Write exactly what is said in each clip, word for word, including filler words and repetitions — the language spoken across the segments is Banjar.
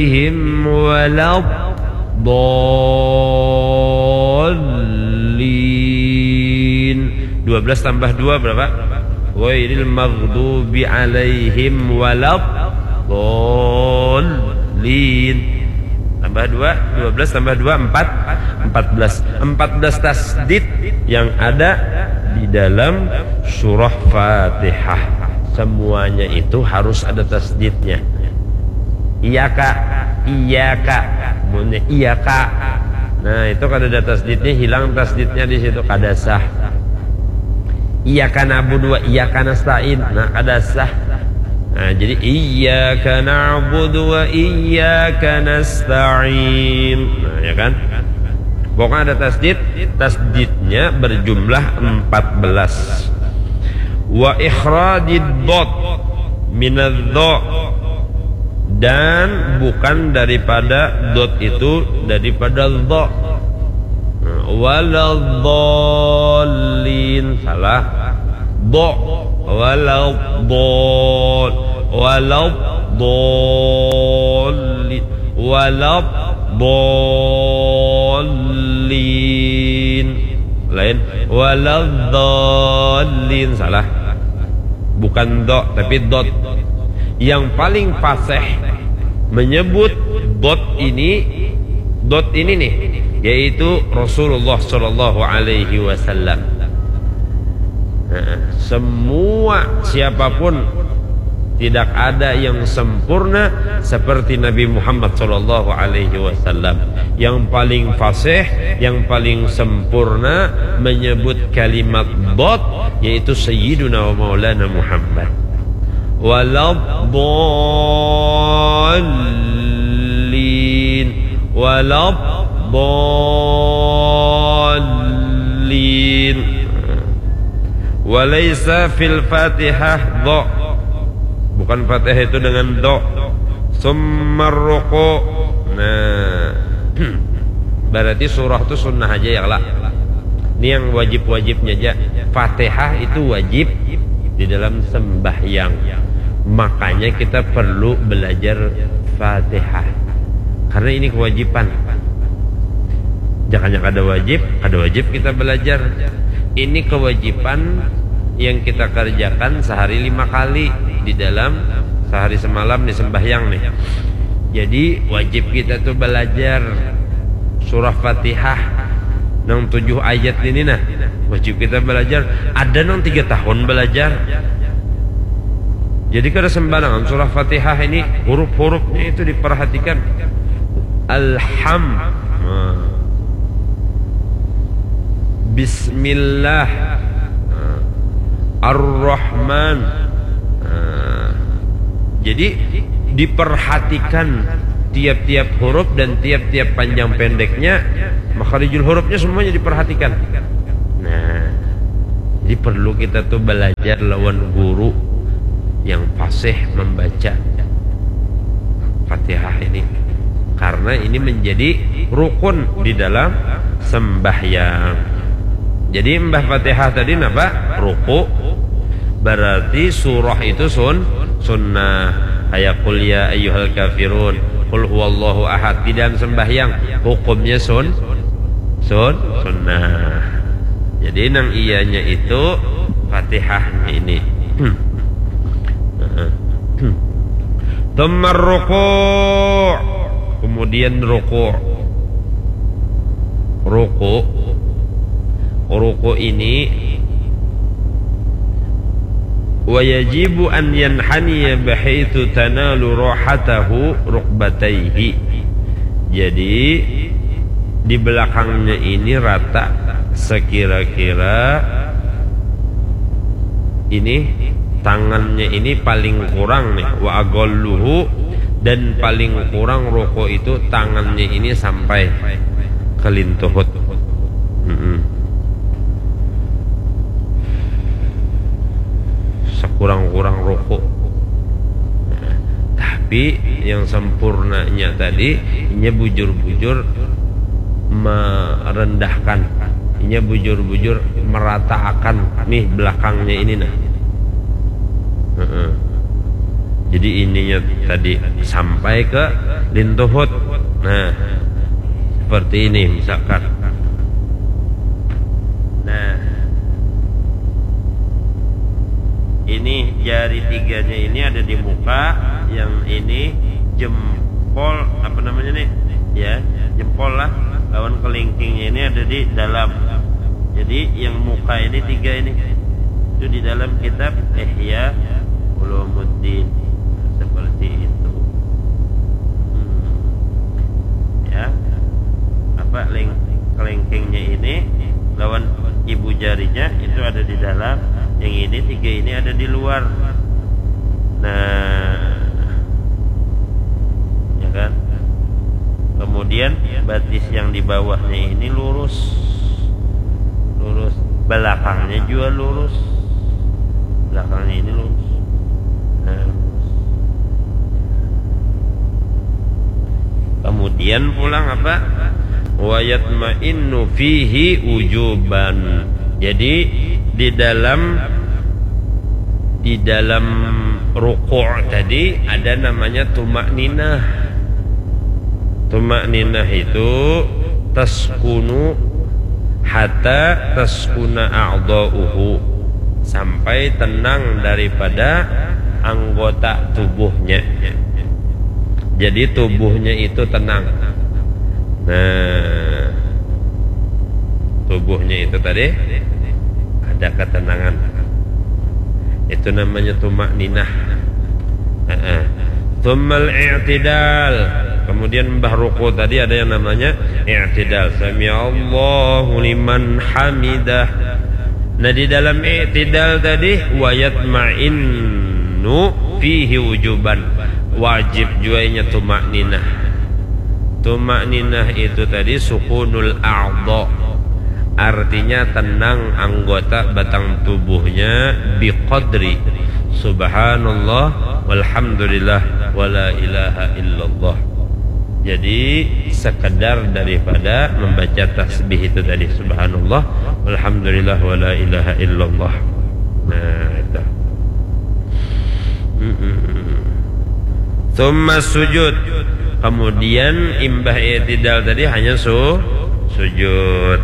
alaihim waladdallin. Dua belas tambah dua berapa? Ghairil maghdubi alaihim waladdallin. Tambah dua, dua belas tambah dua, empat, empat belas. Empat belas tasdid yang ada di dalam surah Fatihah. Semuanya itu harus ada tasdidnya. Iyaka, iyaka, munnya iyaka. Nah, itu kada ada tasdidnya, hilang tasdidnya di situ, kada sah. Iyaka na'budu wa iyaka nasta'in. Nah, kada sah. Nah, jadi iyyaka na'budu wa iyyaka nasta'in. Nah, ya kan? Pokoknya ada tasdid, tasdidnya berjumlah empat belas. Wa ikhrajid dhad minadh dha, dan bukan daripada dot itu, daripada dha. Nah, waladdallin, salah. Dha, waladdall, waladdallin, waladdallin. Lain, waladdallin, salah. Bukan do, tapi dot. Yang paling fasih menyebut dot ini, dot ini nih, yaitu Rasulullah Shallallahu Alaihi Wasallam. Nah, semua, siapapun, tidak ada yang sempurna seperti Nabi Muhammad Shallallahu Alaihi Wasallam. Yang paling fasih, yang paling sempurna menyebut kalimat dot, yaitu Sayyiduna wa Maulana Muhammad. Waladdallin, waladdallin. Walaisa fil Fatihah do. Bukan Fatihah itu dengan do. Summa ruku. Nah, berarti surah itu sunnah aja ya, lah. Ini yang wajib-wajibnya aja. Fatihah itu wajib di dalam sembahyang. Makanya kita perlu belajar Fatihah. Karena ini kewajiban. Jangan yang ada wajib, ada wajib kita belajar. Ini kewajiban yang kita kerjakan sehari lima kali di dalam sehari semalam nih sembahyang nih. Jadi wajib kita tuh belajar surah Fatihah nang tujuh ayat ini nah. Wajib kita belajar. Ada nang tiga tahun belajar. Jadi kada sembarangan surah Fatihah ini, huruf-hurufnya itu diperhatikan. Alham. Nah. Bismillah. Nah. Ar-Rahman. Nah. Jadi diperhatikan tiap-tiap huruf dan tiap-tiap panjang pendeknya, makharijul hurufnya semuanya diperhatikan. Nah, jadi perlu kita tuh belajar lawan guru yang fasih membaca Fatihah ini. Karena ini menjadi rukun di dalam sembahyang. Jadi imbah Fatihah tadi napa? Ruku. Berarti surah itu sun sunnah. Kayak qul ya ayyuhal kafirun, qul huwallahu ahad di dalam sembahyang hukumnya sun sun sunnah. Jadi nang iyanya itu Fatihahnya ini. Tsumma ruku, kemudian ruku. Ruku, ruku ini wa yajibu an yanhaniya bahaitsu tanalu rahatahu rukbataihi. Jadi di belakangnya ini rata sekira-kira ini tangannya ini paling kurang nih, wa agolluhu, dan paling kurang ruku itu tangannya ini sampai ke lintuhut. Mm-mm. Sekurang-kurang ruku. Nah, tapi yang sempurnanya tadi, inya bujur-bujur merendahkan, inya bujur-bujur merataakan nih belakangnya ini nah. Heeh. Jadi ininya tadi sampai ke lintuhut. Nah, seperti ini misalkan. Nah, ini jari tiganya ini ada di muka, yang ini jempol, apa namanya nih? Ya, jempol lah, lawan kelingkingnya ini ada di dalam. Jadi yang muka ini tiga ini itu di dalam kitab Ihya Ulumuddin, seperti itu. Hmm. Ya, apa, leng- kelingkingnya ini lawan ibu jarinya itu ada di dalam, yang ini tiga ini ada di luar. Nah, ya kan? Kemudian batis yang di bawahnya ini lurus, lurus. Belakangnya juga lurus, belakangnya ini lurus. Nah, kemudian pulang apa? Wayatma'innu fihi ujuban. Jadi di dalam di dalam ruku' tadi ada namanya tumak ninah. Tumak ninah itu taskunu hatta taskuna a'dha'uhu, sampai tenang daripada anggota tubuhnya. Jadi tubuhnya itu tenang. Nah, tubuhnya itu tadi ada ketenangan. Itu namanya tumak ninah. Heeh. Tsummal i'tidal. Kemudian mbah ruku tadi ada yang namanya i'tidal. Sami'allahu liman hamidah. Nah, di dalam i'tidal tadi, wayatma'innu fihi ujuban. Wajib juga inya tumak ninah. Tumak ninah itu tadi sukunul a'dha. Artinya tenang anggota batang tubuhnya biqadri subhanallah walhamdulillah wala ilaha illallah. Jadi sekedar daripada membaca tasbih itu tadi, subhanallah walhamdulillah wala ilaha illallah. Nah, itu. Mm-mm. Tsumma sujud. Kemudian imbah i'tidal tadi hanya su sujud.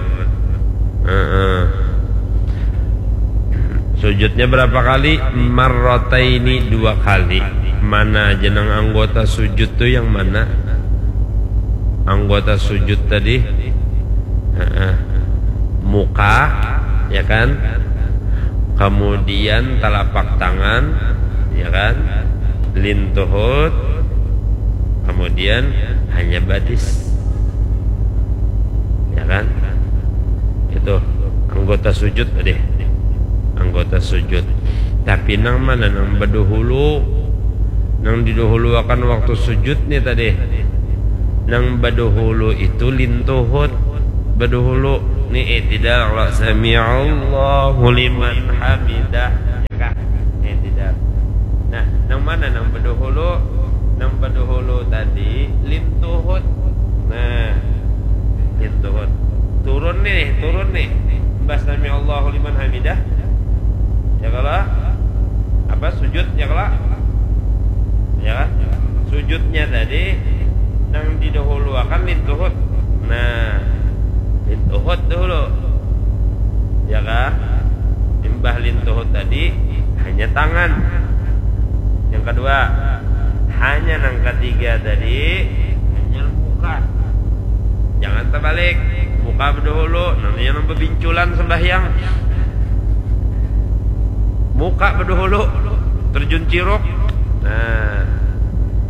Heeh. Sujudnya berapa kali? Marrataini, dua kali. Mana aja nang anggota sujud tu yang mana? Anggota sujud tadi, heeh, muka, ya kan? Kemudian telapak tangan, ya kan? Lintuhut, kemudian hanya batis. Ya kan? Itu anggota sujud tadi. Anggota sujud. Tapi nang mana nang badahulu? Nang didahuluakan waktu sujud nih tadi. Nang badahulu itu lintuhut. Badahulu nih, eh, tidak, kalau sami'allahu liman hamidah. Ya kah? Eh, tidak. Nah, nang mana nang badahulu? Nang badahulu tadi lintuhut. Nah, lintuhut. Turun nih, turun nih. Imbah sami'allahu liman hamidah. Ya kalau apa, sujud, ya kalau, ya kan? Sujudnya tadi nang didahuluakan lintuhut. Nah, lintuhut dahulu. Ya kan? Imbah lintuhut tadi hanya tangan. Yang kedua, hanya nang ketiga tadi hanya muka. Jangan terbalik. Muka badahulu, namanya nang babinculan sembahyang. Muka badahulu, terjun ciruk. Nah,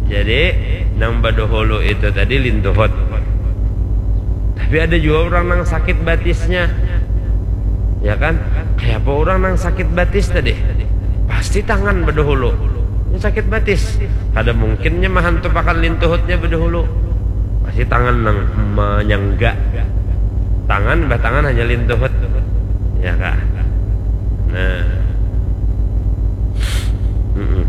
jadi nang badahulu itu tadi lintuhut. Tapi ada juga orang nang sakit batisnya. Ya kan? Kayak apa orang nang sakit batis tadi? Pasti tangan badahulu. Ini sakit batis. Kada mungkinnya mahantup akan lintuhutnya badahulu. Pasti tangan nang menyangga. Tangan, bah tangan hanya lintuhut. Ya kah? Nah. Mm-mm.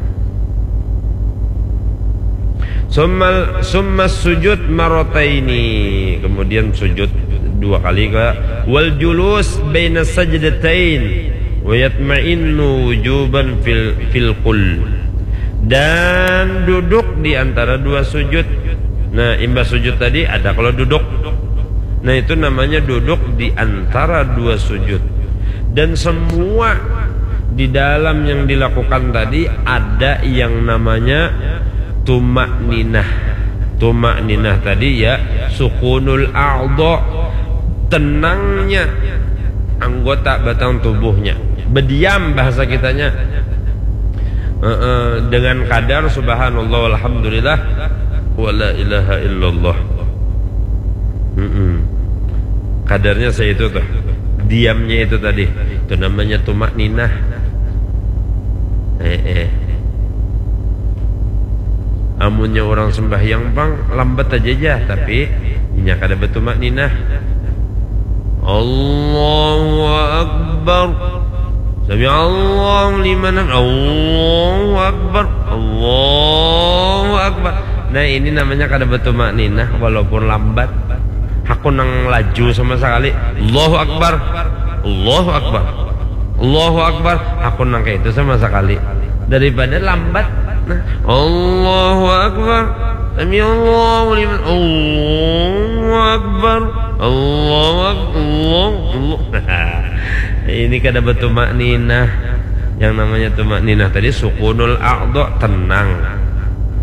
Summal, summa sujud marataini. Kemudian sujud dua kali ke. Wal julus baina sajdatain. Wa yatma'innu wujuban fil, fil kul. Dan duduk di antara dua sujud. Nah, imbah sujud tadi ada kalau duduk. Nah, itu namanya duduk di antara dua sujud. Dan semua di dalam yang dilakukan tadi ada yang namanya tumak ninah. Tumak ninah tadi ya sukunul a'dha, tenangnya anggota batang tubuhnya. Berdiam bahasa kitanya. Heeh, dengan kadar subhanallah walhamdulillah wala ilaha illallah. Mm-mm. Kadarnya seitu tuh. Diamnya itu tadi. Itu namanya tumak ninah. Eh, eh. Amunnya orang sembahyang pang lambat aja aja, tapi inya kada bertumak ninah. Allahu Akbar. Sami Allahu liman hamid. Allahu Akbar. Allahu Akbar. Nah, ini namanya kada bertumak ninah walaupun lambat. Aku nang laju sama sekali. Allahu Akbar. Allahu Akbar. Allahu Akbar. Aku nang kayak itu sama sekali. Daripada lambat. Nah, Allahu Akbar. Sami Allahu liman. Allahu Akbar. Allahu Akbar. Allahu Akbar. Ini kada bertumak ninah. Yang namanya tumak ninah tadi sukunul a'dha, tenang.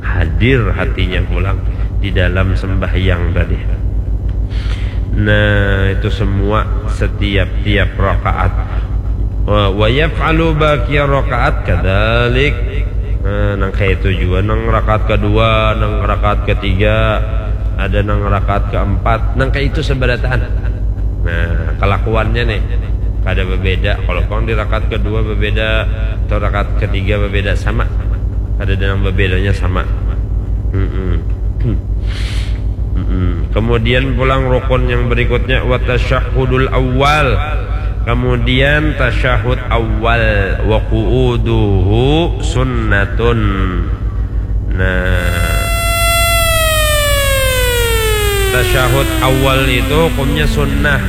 Hadir hatinya pulang di dalam sembahyang tadi. Nah, itu semua setiap-tiap rakaat. Wa, wa yaf'alu baqiya rakaat kadalik. Nah, nang kayak itu juga, nang rakaat kedua, nang rakaat ketiga, ada nang rakaat keempat, nang kayak itu seberataan. Nah, kelakuannya nih kada berbeda. Kalau pang di rakaat kedua berbeda atau rakaat ketiga berbeda, sama. Kada ada yang berbedanya, sama. Mm-mm. Mm-mm. Kemudian pulang rukun yang berikutnya, wa tasyahhudul awal. Kemudian tasyahud awal, wa qu'uduhu sunnatun. Nah, tasyahud awal itu hukumnya sunnah.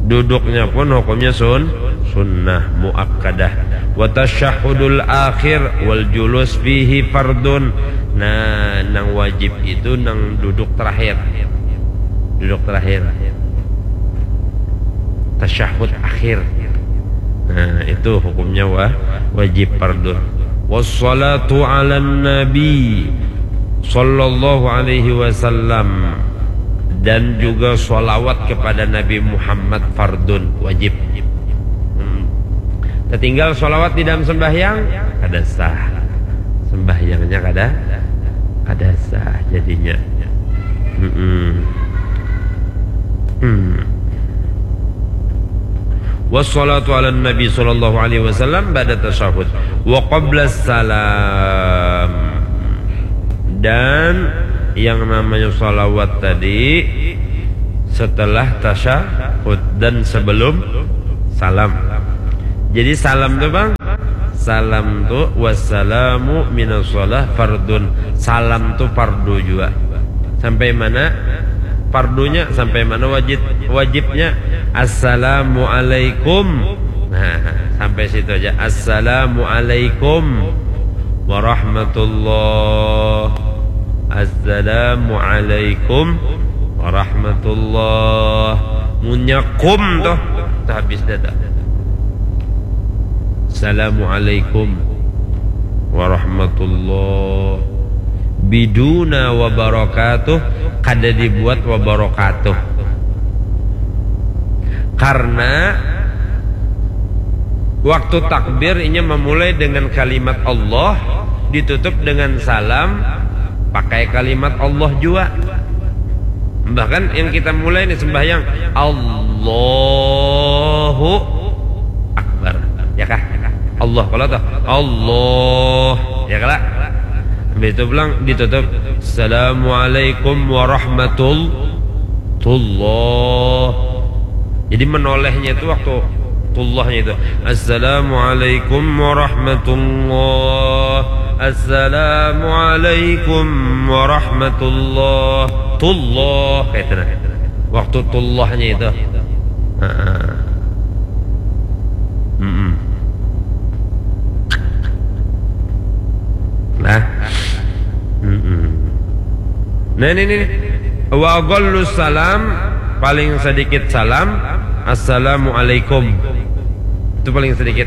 Duduknya pun hukumnya sun, sunnah muakkadah. Wa tasyahudul akhir wal julus fihi fardun. Nah, nang wajib itu nang duduk terakhir. Duduk terakhir. Tasyahud akhir. Nah, itu hukumnya wa, wajib fardun. Wassalatu ala nabi sallallahu alaihi wasallam, dan juga salawat kepada Nabi Muhammad fardun, wajib. Hmm. Tertinggal salawat di dalam sembahyang, kada sah. Sembahyangnya kada, kada sah jadinya. Hmm. Hmm. Wassalatu ala nabi sallallahu alaihi wasallam ba'da tasyahud wa qabla salam. Dan yang namanya salawat tadi setelah tasyahud dan sebelum salam. Jadi salam tuh, Bang, salam tuh wassalamu minas shalah fardun. Salam tuh fardu juga. Sampai mana fardunya, sampai mana wajib, wajibnya. Assalamualaikum. Nah, sampai situ aja. Assalamualaikum warahmatullah. Assalamualaikum warahmatullah. Munnya kum tuh, tuh habis data. Assalamualaikum warahmatullah. Biduna wabarakatuh, kada dibuat wabarakatuh. Karena waktu takbir inya memulai dengan kalimat Allah, ditutup dengan salam, pakai kalimat Allah juga. Bahkan yang kita mulai nih sembahyang, Allahu Akbar. Ya kah? Allah, kalau toh, Allah. Ya kala? Habis itu pulang ditutup, Assalamualaikum warahmatullah. Jadi menolehnya itu waktu tullahnya itu. Assalamualaikum warahmatullah. Assalamualaikum warahmatullah. Tullah. Kayak itu nah. Waktu tullahnya itu. Heeh. Mm-mm. Nah. Mm-mm. Nah, ini nih. Wa aqallu salam, paling sedikit salam, assalamualaikum. Itu paling sedikit.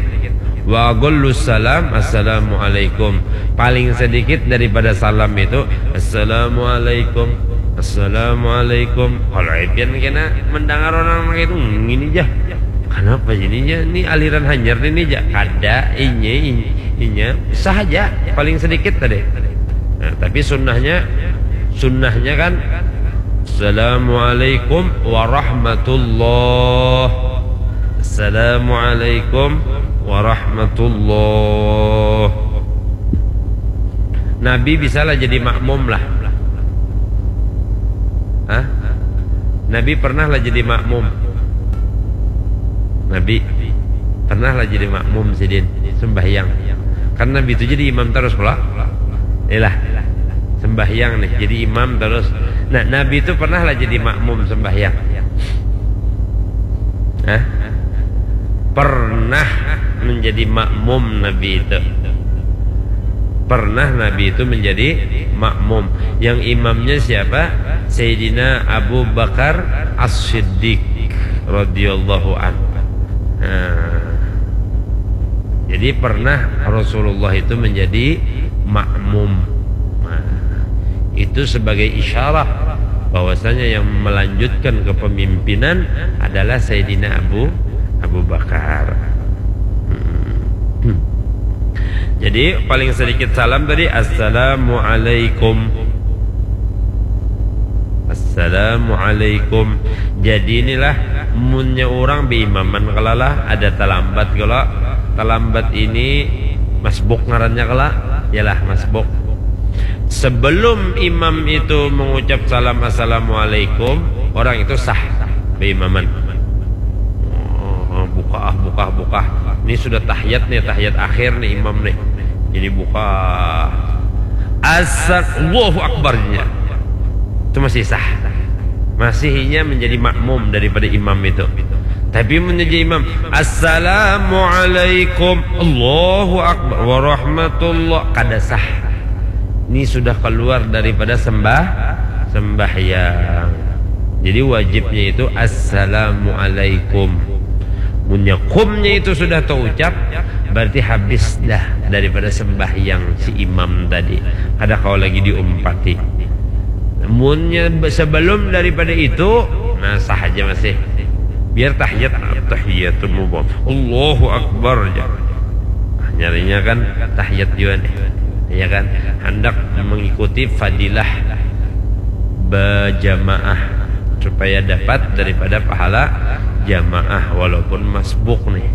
Wa aqallu salam, assalamualaikum. Paling sedikit daripada salam itu, assalamualaikum. Assalamualaikum. Kalau Epian kena mendengar orang itu, "Hmm, ini jah. Kenapa ini jah? Ini aliran hanyar ini jah." Kada, inya, inya, inya. Sah aja, paling sedikit tadi. Nah, tapi sunnahnya, sunnahnya kan, "Assalamualaikum warahmatullah. Assalamualaikum warahmatullah." Nabi bisalah jadi makmum lah. Hah? Nabi pernah lah jadi makmum. Nabi pernah lah jadi makmum sidin sembahyang. Kan Nabi itu jadi imam terus pula. Iyalah. Sembahyang nih, jadi imam terus. Nah, Nabi itu pernah lah jadi makmum sembahyang. Hah? Pernah menjadi makmum Nabi itu. Pernah Nabi itu menjadi makmum. Yang imamnya siapa? Sayyidina Abu Bakar As-Siddiq radhiyallahu anhu. Nah, jadi pernah Rasulullah itu menjadi makmum. Nah, itu sebagai isyarah bahwasanya yang melanjutkan kepemimpinan adalah Sayyidina Abu Abu Bakar. Hmm. Jadi paling sedikit salam tadi, "Assalamualaikum." "Assalamualaikum." Jadi inilah munnya orang beimaman kalalah, ada talambat kala. Talambat ini masbuk ngarannya kala. Yalah, masbuk. Sebelum imam itu mengucap salam, "Assalamualaikum," orang itu sah beimaman. Oh, buka ah, buka, buka. Ini sudah tahiyat nih, tahiyat akhir nih imam nih. Jadi buka. Asal Allahu Akbarnya. Itu masih sah. Masihnya menjadi makmum daripada imam itu. Tapi menjadi imam, "Assalamualaikum, Allahu Akbar, warahmatullah," kada sah. Ini sudah keluar daripada sembah sembahyang. Jadi wajibnya itu, "Assalamualaikum." Munnya kumnya itu sudah terucap, berarti habis dah daripada sembahyang si imam tadi. Kada kau lagi diumpati. Munnya be-, sebelum daripada itu, nah, sah aja masih. Biar tahiyat, "Tahiyatul mubarak, Allahu Akbar," aja. Nah, nyarinya kan tahiyat juga nih. Ya kan? Hendak mengikuti fadilah berjamaah supaya dapat daripada pahala jamaah walaupun masbuk nih.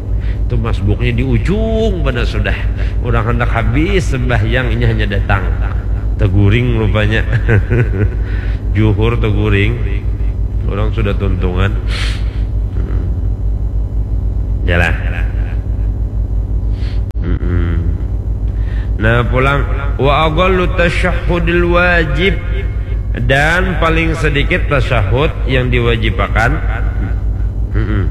Itu masbuknya di ujung mana sudah. Orang hendak habis sembahyang, ini hanya datang. Teguring rupanya. Juhur teguring. Orang sudah tuntungan. Hmm. Yalah. Mm-mm. Nah, pulang, "Wa aqallu tasyahhudil wajib," dan paling sedikit tasyahud yang diwajibakan. Mm-mm.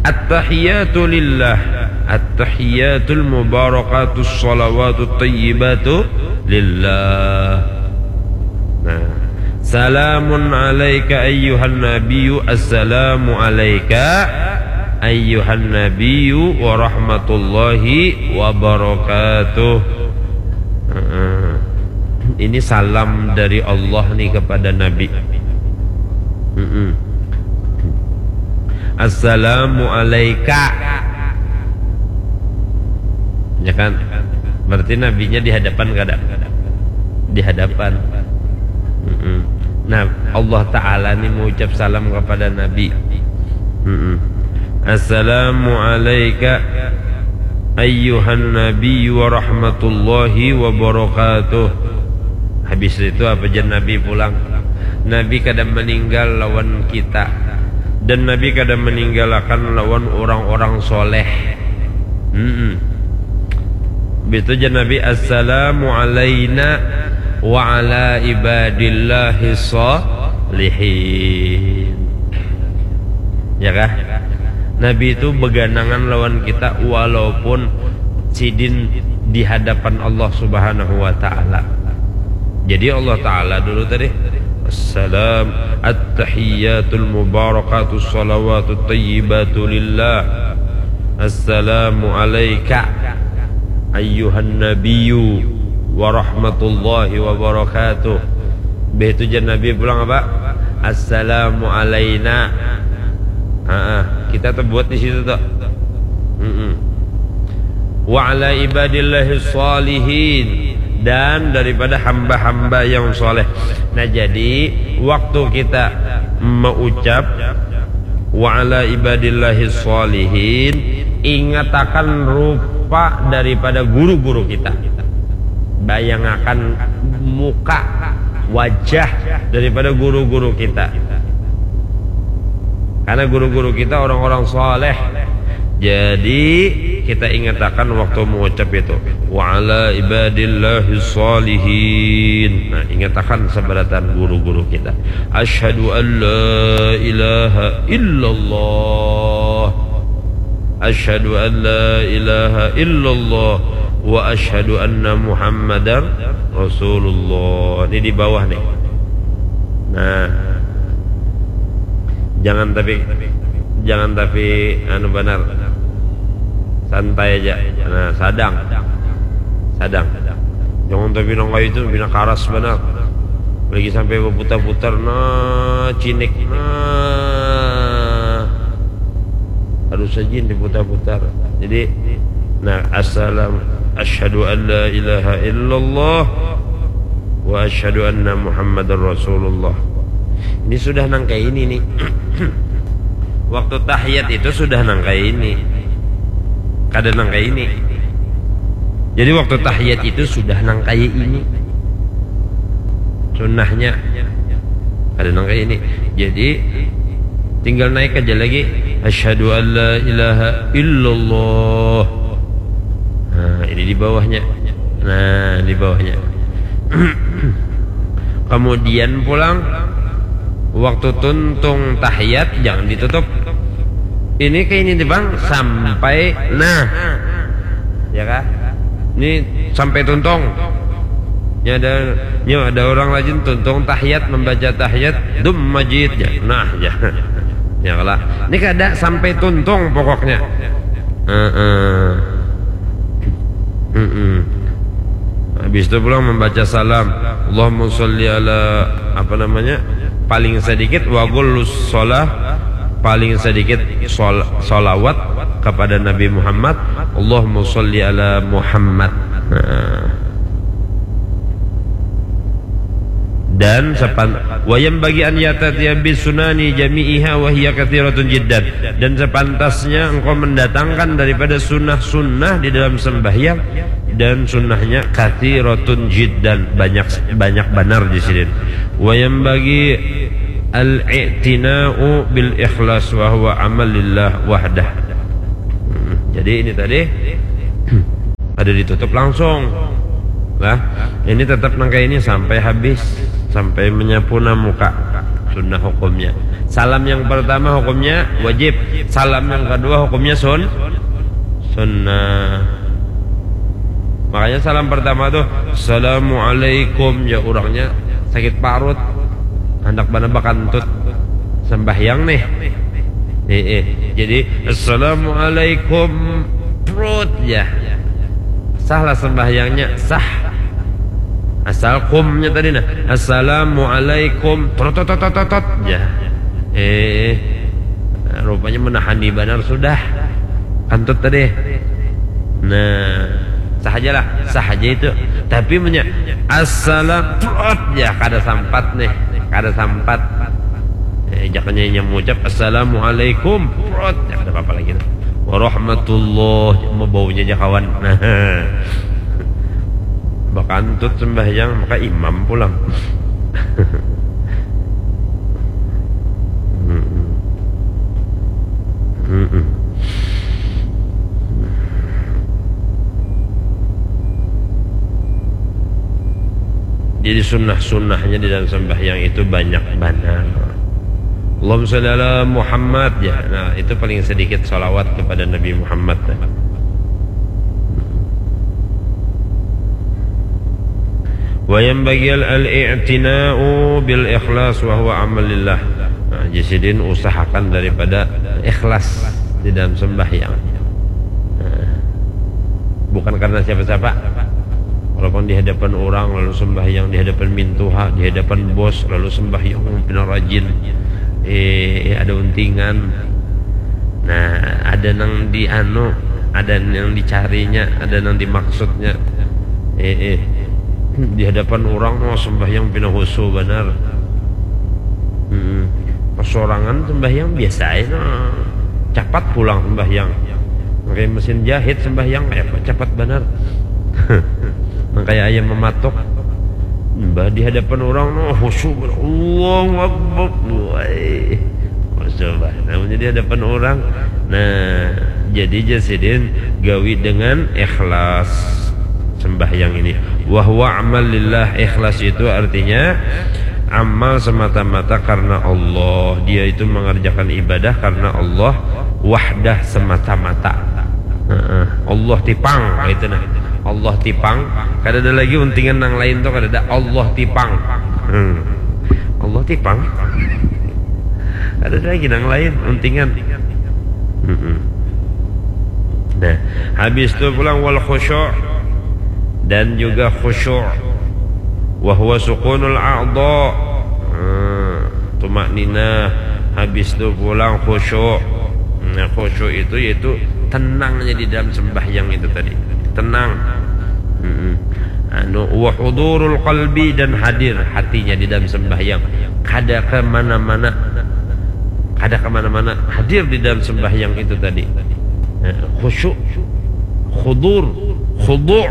"At-tahiyatu lillah, at-tahiyatul mubarakatus salawatut tayyibatu lillah." Nah, "Salamun alaika ayyuhan nabiyyu, assalamu alaika ayyuhan nabiyyu wa rahmatullahi wa barakatuh." Heeh. Ini salam dari Allah nih kepada Nabi. Mm-mm. "Assalamu alaika." Ya kan? Berarti nabinya di hadapan kada? Di hadapan. Mm-mm. Nah, Allah Ta'ala nih mengucap salam kepada Nabi. Mm-mm. "Assalamu alaika ayyuhan nabiyyu wa rahmatullahi wa barakatuh." Habis itu apa jar Nabi pulang? Nabi kada meninggal lawan kita. Dan Nabi kada meninggalakan lawan orang-orang soleh. Mm-mm. Bitu jar Nabi, "Assalamu alaina wa ala ibadillahi salihin." Ya kah? Nabi itu beganangan lawan kita walaupun sidin di hadapan Allah Subhanahu wa taala. Jadi Allah taala dulu tadi, "Assalam, at-tahiyyatul mubarakatus salawatut tayyibatu lillah. Assalamu alaika ayyuhan nabiyyu wa rahmatullahi wa barakatuh." Begitu jar Nabi pulang apa? "Assalamu alaina." Ha, kita terbuat di situ tuh. Mm-mm. "Wa ala ibadillahi shalihin," dan daripada hamba-hamba yang soleh. Nah, jadi waktu kita mengucap "wa ala ibadillahi shalihin", ingatakan rupa daripada guru-guru kita. Bayangakan muka, wajah daripada guru-guru kita. Karena guru-guru kita orang-orang soleh. Jadi kita ingatakan waktu mengucap itu, "Wa ala ibadillahi shalihin." Nah, ingatakan sabarataan guru-guru kita. "Asyhadu an la ilaha illallah. Asyhadu an la ilaha illallah wa asyhadu anna Muhammadar Rasulullah." Ini di bawah nih. Nah. Jangan tapi, jangan tapi anu banar. Santai aja. Nah, sadang. Sadang. Jangan tapi nang kaya itu, pina karas banar. Lagi sampai berputar-putar, nah, cinik, nah. Harus saja diputar-putar. Jadi, nah, assalam, asyhadu an la ilaha illallah wa asyhadu anna Muhammadar Rasulullah. Ini sudah nang kayak ini nih. Waktu tahiyat itu sudah nang kayak ini. Kada nang kayak ini. Jadi waktu tahiyat itu sudah nang kayak ini. Sunnahnya. Kada nang kayak ini. Jadi tinggal naik aja lagi. Asyhadu an la ilaha illallah. Nah, ini di bawahnya. Nah, di bawahnya. Kemudian pulang, waktu tuntung tahiyat jangan ditutup. Ini kayak ini nih, Bang, sampai nah. Ya kah? Ini sampai tuntung. Ya ada, ya ada orang rajin tuntung tahiyat, membaca tahiyat, dum majid ya. Nah, ya. Ya kalah. Ini kada sampai tuntung pokoknya. Heeh. Mm-mm. Habis itu pulang membaca salam. Allahumma sholli ala, apa namanya? Paling sedikit, wa qallus sholah, paling sedikit sol-, sholawat kepada Nabi Muhammad. Allahumma sholli ala Muhammad. Nah. Dan sepan-, wa yanbaghi an ya'taniya bi sunani jami'iha wa hiya katsiratun jiddan. Dan sepantasnya engkau mendatangkan daripada sunnah-sunnah di dalam sembahyang, dan sunnahnya katsiratun jiddan, banyak, banyak banar di sini. Wa yanbaghi al-i'tina'u bil ikhlas wa huwa amal lillah wahdah. Hmm, jadi ini tadi ada ditutup langsung. Lah, ini tetap nang kayak ini sampai habis, sampai menyapuna muka. Sunnah hukumnya. Salam yang pertama hukumnya wajib. Salam yang kedua hukumnya sun-, sunnah. Makanya salam pertama tuh, "Assalamualaikum," ya orangnya sakit parut. Handak banar bakantut. Sembahyang nih. Eh, eh. Jadi, "Assalamualaikum." Prut ya. Sah lah sembahyangnya, sah. Asal kumnya tadi nah. "Assalamualaikum." Trot, trot, trot, trot, trot. Ya. Eh. Nah, rupanya menahani banar sudah. Kantut tadi. Nah, sah aja lah, sah aja itu. Tapi punya assalam, prot, ya kada sampat nih, kada sampat. Eh, jakanya yang mengucap assalamualaikum, prot, ya kada apa-apa lagi. Warahmatullah, mau baunya aja kawan. Nah, bakantut sembahyang, maka imam pulang. Mm-mm. Mm-mm. Jadi sunnah-sunnahnya di dalam sembahyang itu banyak banar. Allahumma sholli ala Muhammad, ya. Nah, itu paling sedikit salawat kepada Nabi Muhammad. Wa yanbaghi al-i'tina'u bil ikhlas wa huwa amal lillah. Nah, jadi sidin usahakan daripada ikhlas di dalam sembahyang. Nah, bukan karena siapa-siapa. Walaupun di hadapan orang lalu sembahyang, di hadapan mintuha, di hadapan bos lalu sembahyang, pina rajin. Eh, ada untingan. Nah, ada nang di anu, ada nang dicarinya, ada nang dimaksudnya. Eh, eh. Di hadapan orang mau sembahyang pina khusyuk banar. Hmm. Pas sorangan sembahyang biasa aja, nah. Capat pulang sembahyang. Pakai mesin jahit sembahyang, kayak apa, capat banar. Nang kayak ayam mematok. Mbah di hadapan orang, nah, khusyuk banar. Allahu Akbar. Wai. Khusyuk banar. Namanya di hadapan orang. Nah, jadi jar sidin gawi dengan ikhlas sembahyang ini. Wa huwa amal lillah, ikhlas itu artinya amal semata-mata karena Allah. Dia itu mengerjakan ibadah karena Allah, wahdah, semata-mata. Heeh. Allah tipang, itu nah. Allah tipang, kada ada lagi untingan nang lain tuh, kada ada. Allah tipang. Hmm. Allah tipang. Ada lagi nang lain untingan. Mm-mm. Nah, habis tu pulang wal khusyuk dan juga khusyuk. Wa huwa sukunul a'dha. Hmm, tumakninah. Habis tu pulang khusyuk. Nah, khusyuk itu yaitu tenangnya di dalam sembahyang itu tadi. Tenang. Mm-mm. Anu, wa hudurul qalbi, dan hadir hatinya di dalam sembahyang. Kada kemana-mana. Kada kemana-mana. Hadir di dalam sembahyang itu tadi. Eh, khusyuk, khudur, khudu'.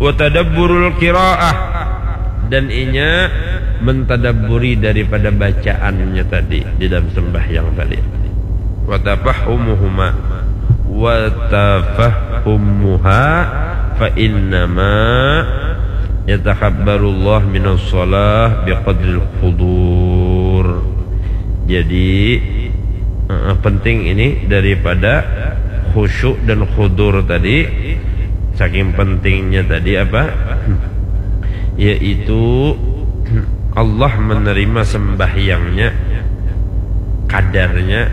Wa tadabburul qiraah. Dan inya mentadabburi daripada bacaannya tadi di dalam sembahyang tadi. Wa tafahumuhuma. Wa tafahumuha fa innama yatakabbarullah minas shalah biqadril khudur. Jadi, eh, penting ini daripada khusyuk dan khudur tadi. Saking pentingnya tadi apa? Yaitu Allah menerima sembahyangnya kadarnya,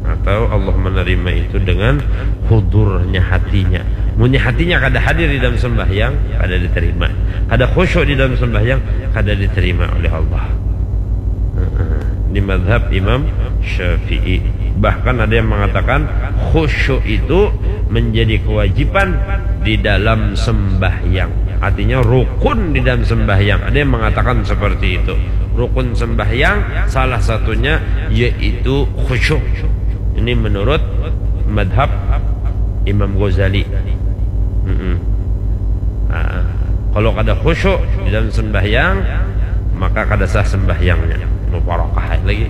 atau Allah menerima itu dengan hudurnya hatinya. Munnya hatinya kada hadir di dalam sembahyang, kada diterima. Kada khusyuk di dalam sembahyang, kada diterima oleh Allah. Heeh. Di madhab Imam Syafi'i. Bahkan ada yang mengatakan khusyuk itu menjadi kewajiban di dalam sembahyang. Artinya rukun di dalam sembahyang. Ada yang mengatakan seperti itu. Rukun sembahyang salah satunya yaitu khusyuk. Ini menurut madhab Imam Ghazali. Mm-mm. Nah, kalau kada khusyuk di dalam sembahyang, maka kada sah sembahyangnya. Muparakah lagi.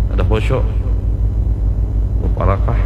Kada khusyuk. Muparakah.